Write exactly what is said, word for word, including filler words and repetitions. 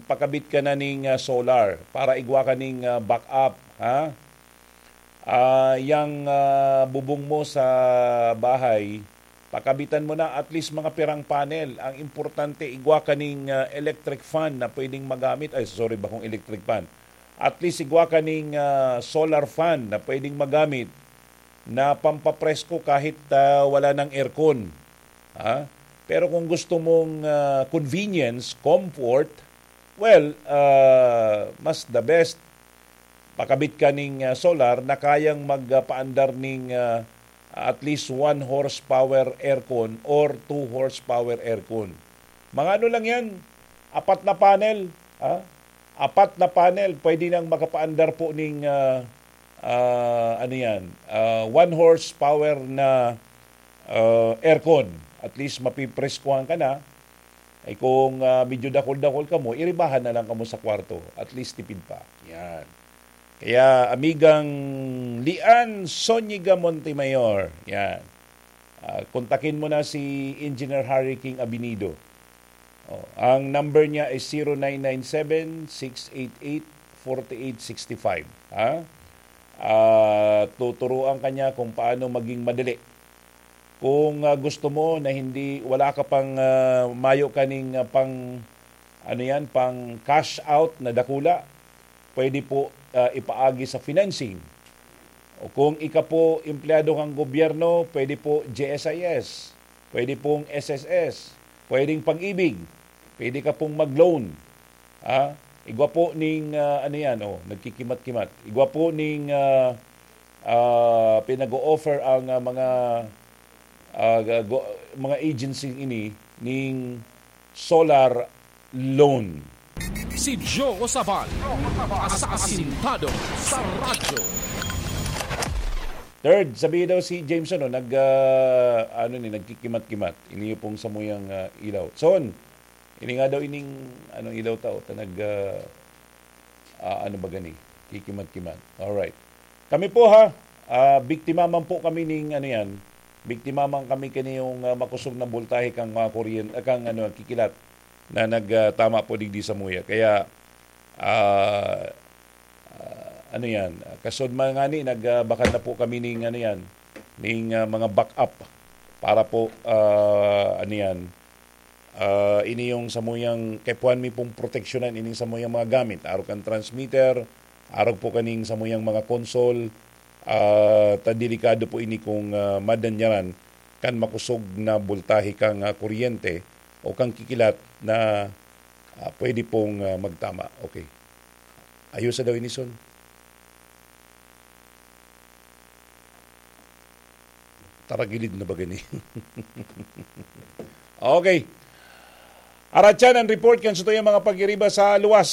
pakabit ka na ning, ah, solar para igwa ka ning, ah, backup, ha? Ah, yang, ah, bubong mo sa bahay, pakabitan mo na at least mga pirang panel. Ang importante, igwa ka ning, ah, electric fan na pwedeng magamit. Ay, sorry, bakong electric fan. At least igwa ka ning, ah, solar fan na pwedeng magamit na pampapresko kahit, ah, wala nang aircon. Ha? Pero kung gusto mong, ah, convenience, comfort, well, ah, mas the best, pakabit ka ning, ah, solar na kayang magpaandar ning, ah, at least one horsepower aircon or two horsepower aircon. Mga ano lang yan, apat na panel, ha? Apat na panel, pwede nang makapaandar po ning, ah, ah, ano yan, ah, one horsepower na, ah, aircon. At least mapipreskuhan ka na. Ay kung, ah, medyo dakol-dakol ka mo, iribahan na lang kamo sa kwarto. At least tipid pa. Yan. Kaya, amigang Lian Zuniga Montemayor, yan. Ah, kontakin mo na si Engineer Harry King Abinido. Oh, ang number niya is zero nine nine seven, six eight eight, forty eight sixty five. Ha? Ah, tuturuan ka niya kung paano maging madali. Kung, ah, gusto mo na hindi, wala ka pang, ah, mayo kaning, ah, pang, ano yan, pang cash out na dakula, pwede po, ah, ipaagi sa financing. O kung ika po empleyado ng gobyerno, pwede po G S I S, pwede pong S S S, pwedeng Pag-ibig, pwede ka pong mag-loan. Ah, igwa po ning, ah, ano yan, oh, nagkikimat-kimat. Igwa po ning, ah, ah, pinag-o-offer ang, ah, mga, ah, ga-, go-, mga agency ini ning solar loan. Si Joe Sabal, asasintado sa radyo. Third, sabi daw si Jameson, no, nag, ah, ano ni, nagkikimat-kimat. Ini yung pong samuyang, ah, ilaw. Son, ini nga daw ining, ano, ilaw tao, ta nag, ah, ah, ano ba gani? Kikimat-kimat. Alright. Kami po ha, ah, biktima man po kami ning, ano yan, biktima man kami kaniyong, ah, makusog na boltahe kang, ah, kuryen-, ah, kang, ano, kikilat na nag, ah, tama po digdi samuya. Kaya, ah, ah, ano yan, kasod man ngani, nag, ah, bakal na po kami ning, ano yan, ning, ah, mga backup para po, ah, ano yan, ah, ini yung samuyang, kaipuhan mi pong proteksyonan ining samuyang mga gamit, arog kan transmitter, arog po kaning samuyang mga console, ah, ta delikado po ini kung, ah, madanyaran kan makusog na boltahe kang, ah, kuryente o kang kikilat na, ah, pwede pong, ah, magtama. Okay. Ayos sa daw ini, Son. Taragilid na ba gani? Okay. Aratyan ang report kan satuyang mga pagiriba sa luwas.